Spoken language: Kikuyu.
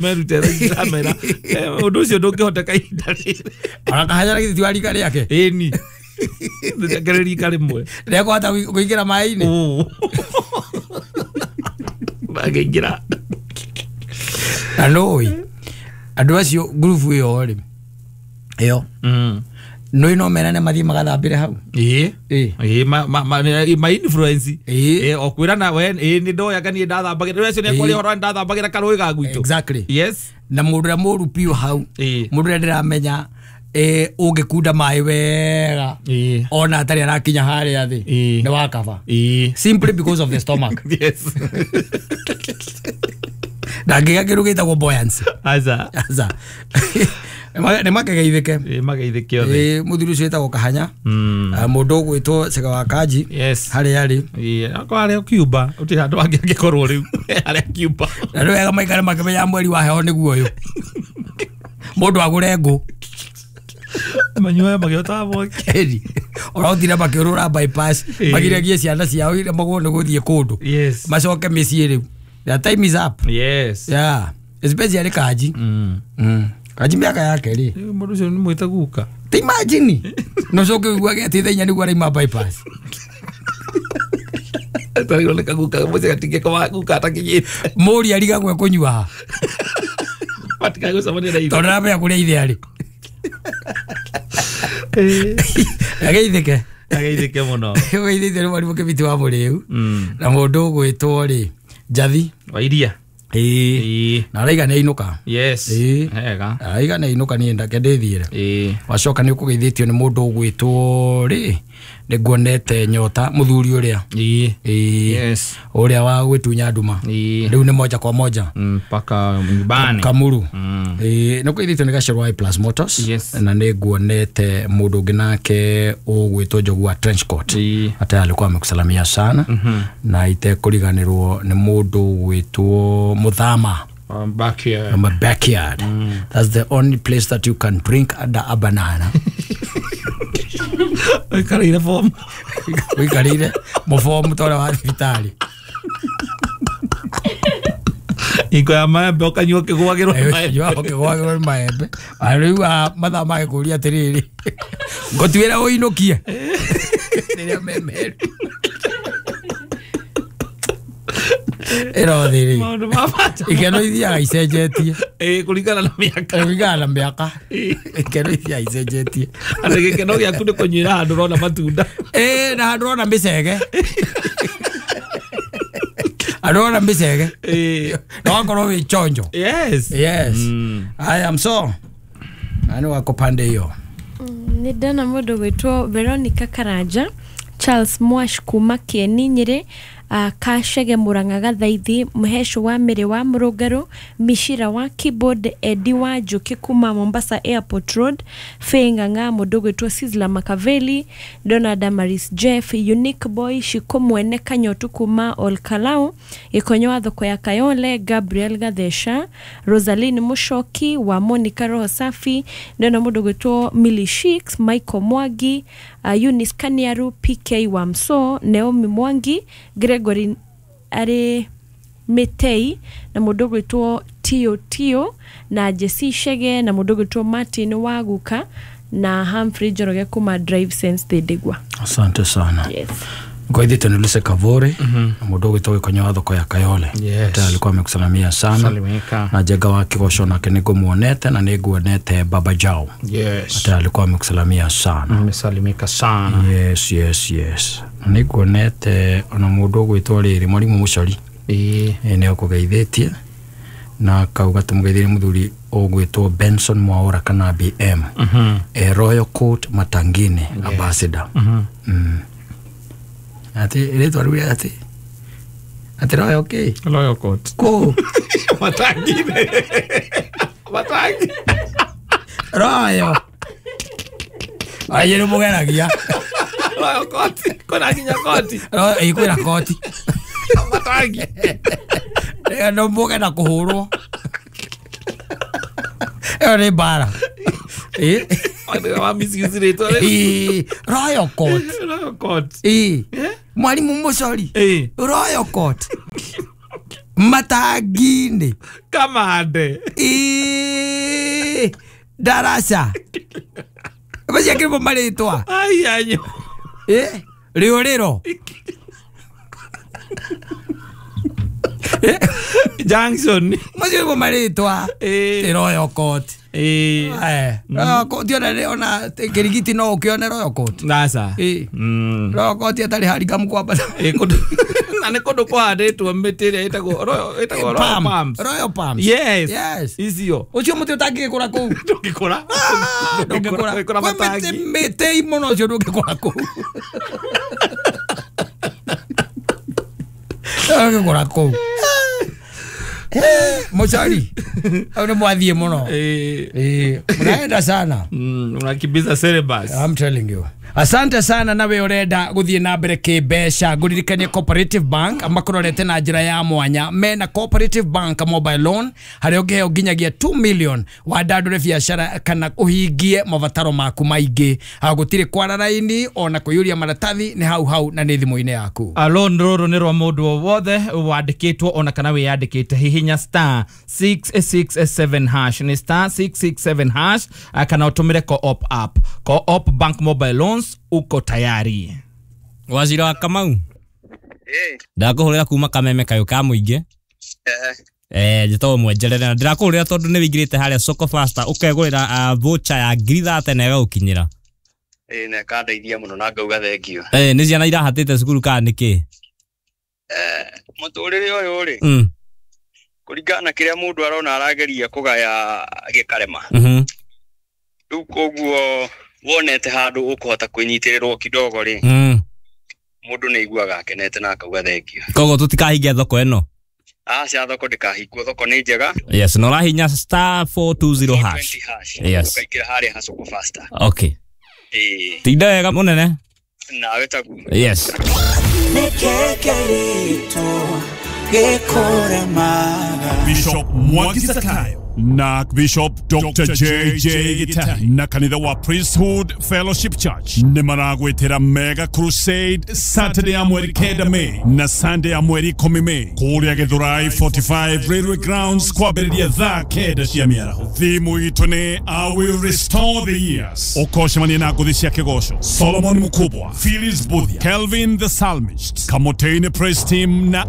Merute ramera undu ucio ndungihoteka ihinda rĩrĩ. Ona kahanya githĩ ti wa rika rĩake. Ĩni ndakĩrĩ rika rĩmwe. Ndekũhota kũingĩra maĩ-inĩ. Ndangĩingĩra. Na nũĩ andũ acio ngurubu ĩyo rĩ ĩyo nũĩ no merane mathiĩ magathambĩre hau. Ĩĩ. Ĩĩ. Ĩĩ ma influence. Ĩĩ. Ĩĩ o kwĩrana we ĩĩ nĩ ndoyaga niĩ ndathambagĩra rĩu acio nĩekwaria ũhoro ndathambagĩra karũĩ ga gwitũ. Exactly. Yes. Na mũndũ ũrĩa mũru biũ hau Ĩĩ. mũndũ ũrĩa ndĩramenya ũngĩkunda maĩ wega Ĩĩ. ona atarĩ arakinya harĩa thĩ Ĩĩ. nĩ wakaba. Ĩĩ. Simply because of the stomach. Yes. Ndangĩgĩa kĩndũ gĩtagwo buoyancy. Aca. Aca. Nĩ makegeithĩke. Ĩĩ mageithĩke othe. Ĩĩ mũthuri ũcio wĩtagwo Kahanya. Mũndũ ũgwĩtwo Cega wa Kanji. Yes. Harĩa arĩ. Ĩĩ akorwo harĩa Cuba gũtirĩ handũ hangĩ angĩkorwo rĩu harĩa Cuba. Na nĩ wega maikare makĩmenya mweri wa heho nĩguo ũyũ. Mũndũ agũre ngũ. Manyuaga magĩotaga mwaki. Ĩni. Ũrotire makĩũrũra bypass Ĩĩ. magiragie ciana ciao iria magwo nĩ gũthiĩ kũndũ. Yes. Macoke mĩciĩ rĩu. The time is up. Yes. Yeah. Especially Kanji. Kanji mĩaka yake rĩ. Rĩu mũndũ ũcio nĩ mwĩte guka. Ta imagine. No coke ũiguage atĩ thaa inya nĩguo araima bypass. Tarĩrwo nĩ kaguka mũciĩ gatingĩkoma guka atakinyĩte. Mũri arigagwo ekũnyua ha. Matikagũcemania na ithe. Tondũ ndaramenya kũrĩa ithe arĩ. Ageithĩke. Ageithĩke mũno. Ũgeithĩte nĩ mwarimũ Kĩbiti wa Mũrĩu. Na mũndũ ũgwĩtwo rĩ Njathi. Wa iria. Ĩĩ. Ĩĩ. Na araiga nĩ ainũka. Yes. Ĩĩ. Hega. Araiga nĩ ainũka niĩ ndake ndĩthiĩre. Ĩĩ. Wacoka nĩ ũkũgeithĩtio nĩ mũndũ ũgwĩtwo rĩ nĩ nguonete nyota mũthuri ũrĩa. Ĩĩ. Ĩĩ. Yes. Ũrĩa wa gwĩtunya nduma. Ĩĩ. Rĩu nĩ moja kwa moja. Mpaka nyumbani. Kamuru. Ĩĩ nĩ ũkũgeithĩtio nĩ Gacero wa Plus Motors. Yes. Na nĩ nguonete mũndũ ũngĩ nake ũgwĩtwo Njogu wa Trench Coat. Ĩĩ. Hata alikuwa amekusalamia sana. Na itekũriganĩrwo nĩ mũndũ ũgwĩtwo Muthama. Back here. My backyard. That's the only place that you can drink under a banana. Ũikarĩire bomu. Ũikarĩire mũbomu ta ũrĩa wa thibitarĩ. Hingo ya maembe ũkanyua ũkĩgũagĩrwo nĩ maembe. Ũkanyua ũkĩgũagĩrwo nĩ maembe. Rĩu mathaa magĩkũria atĩrĩrĩ, ngũtuĩra ũinũkie. Rĩrĩa me meru. Ĩro thĩ rĩ. Maũndũ ma bata. Ikeno ithiaga icenjetie. Ĩĩ kũringana na mĩaka. Kũringana na mĩaka. Ikeno ithiaga icenjetie. Atĩ gĩkeno gĩaku nĩ kũnyuĩra handũ ũrona matunda. Ĩĩ na handũ ũrona mĩcege. Handũ ũrona mĩcege. Ĩĩ. Na wakorwo wĩ chonjo. Yes. Yes. I am so. Na nĩ wako pande hiyo. Nĩ ndona mũndũ gwĩtwo Veronica Karanja, Charles Mwash kuma Kĩeni Nyĩrĩ, Kacege Murang'a Gathaithi, Mũhecũ wa Mĩrĩ wa Mũrũngarũ, Micira wa Keyboard, Edi wa Njũkĩ kuma Mombasa Airport Road, Faye Ng'ang'a, mũndũ ũgwĩtwo Sizzla Makaveli, ndona Damaris Jeff, Unique Boy, Shiko Mwene Kanyotu kuma Olkalau, Gĩkonyo wa thoko ya Kayole, Gabriel Gathesha, Rosaline Mushoki wa Monica Roho Safi, ndona mũndũ ũgwĩtwo Millie Sheiks, Michael Mwangi, Eunice Kaniaru, PK wa Mso, Naomi Mwangi, Gregory arĩ Mĩtei, na mũndũ ũgwĩtwo Tio Tio, na Jesse Shege, na mũndũ ũgwĩtwo Martin Waguka, na Humphrey Njoroge kuma Drive Sense Thindigua. Asante sana. Yes. Ngoithite ni Luse Kavore, na mũndũ ũgwĩtwo Gĩkonyo wa thoko ya Kayole. Yes. Hata alikuwa amekusalamia sana. Salimika. Na Njenga wa Kĩgoco nake nĩngũmuonete na nĩnguonete Baba Jao. Yes. Hata alikuwa amekusalamia sana. Nimesalimika sana. Yes, yes, yes. Na nĩnguonete ona mũndũ ũgwĩtwo rĩrĩ Mwarimũ Mũcori. Ĩĩ. Nĩ akũgeithĩtie na akauga tũmũgeithĩrie mũthuri ũgwĩtwo Benson Mwaura kana BM. Royal Court Matangini Ambassador. Atĩ rĩtwa rĩu atĩ atĩ Royal kĩ? Royal Court. Kũ? Matangini. Matangi. Royal. Aye nĩ mũgeragia. Royal Court. Kwĩna nginya koti. Ĩĩ kwĩna koti. Matangi. No mũge na kũhũrwo. Ĩyo nĩ mbara. Ĩĩ. Wa misuse rĩtwa rĩu. Ĩĩ, Royal Court. Royal Court. Ĩĩ. Mwarimũ Mũcori. Ĩĩ. Royal Court. Matangi-inĩ. Kamande. Ĩĩ, Daraca. Maciakĩrwo marĩtwa. Ai anyo. Ĩ, rĩũrĩro. Junction. Macio nĩmo marĩtwa. Ĩĩ. Ti Royal Court. Ĩĩ. Royal Court ona kĩrigiti no ũkĩone Royal Court. Aca. Ĩĩ. Royal Court ĩtarĩ harikamu kwambata. Ĩĩ, kũndũ na nĩ kũndũ kũhandĩtwo mĩtĩ ĩrĩa ĩtagwo Royal Palm. Palms. Royal Palms. Yes. Yes. Icio. Ũcio mũtĩ ũtangĩgĩkũra kũu. Ndũngĩkũra. Ndũngĩkũra. Ndũngĩkũra Kwĩ matangi. mĩtĩ mũno ũcio ndũngĩkũra kũu. Ndũngĩkũra kũu. Mũcori, hau nĩ mwathiĩ mũno. Ĩĩ. Mnaenda sana. Unakimbiza syllabus. I'm telling you. Asante sana nawe urenda guthie na mbere kimbeca nguririkanie Cooperative Bank makurorete na njira ya mwanya mena Cooperative Bank mobile loan haria ungiheo nginyagia 2 million wandandure biacara kana uhingie mabataro maku maingi. Gutiri kwara raini ona kuyuria maratathi ni hau hau na ni thimu-ini yaku. Loan ruru nĩ rwa mũndũ o wothe wandĩkĩtwo ona kana wĩyandĩkĩte. Hihinya star 667 hash nĩ star 667 hash kana ũtũmĩre Co-op app. Co-op Bank mobile loans uko tayari. Wazira wa Kamau. Ndakũhũrĩra kuma kameme kayũ ka mũingĩ. Njĩtagwo Mwenjerere na ndĩrakũhũrĩra tondũ nĩ wĩingĩrĩte harĩa Soko Faster ũkegũrĩra voucher ya 30,000 na ĩgagũkinyĩra. Ĩĩ na ĩkandeithia mũno na ngauga thengio. Nĩ ciana irahatĩte cukuru kana nĩkĩ? Mũtũrĩre ũyũ rĩ, kũringana na kĩrĩa mũndũ arona arageria kũgaya gĩkarema. Rĩu koguo wonete handũ ũkũhota kwĩnyitĩrĩrwo kidogo rĩ, mũndũ nĩ aiguaga akenete na akauga thengio. Koguo tũtikahingia thoko ĩno? Aca, thoko ndĩkahingwo, thoko nĩ njega. Yes, na ũrahinya star 420 hash. Yes. Ũkaingĩra harĩa ha Soko Faster. Okay. Ĩĩ. Tinda wega mũnene. Nawe taguo. Yes. Bishop Mwangi Zakayo na Bishop Dr. JJ Gitari na kanitha wa Priesthood Fellowship Church nĩ maragwĩtĩra Mega Crusade Saturday ya mweri 9 Mei na Sunday ya mweri 10 Mei kũrĩa Githurai 45 Railway Grounds kwambĩrĩria thaa 9 cia mĩaraho. Thimu itũ nĩ I will restore the years. Ũkocemania na ngũthi cia kĩgoco Solomon Mukubwa, Phyllis Buthia, Kelvin the Psalmist, Kamotene Praise Team na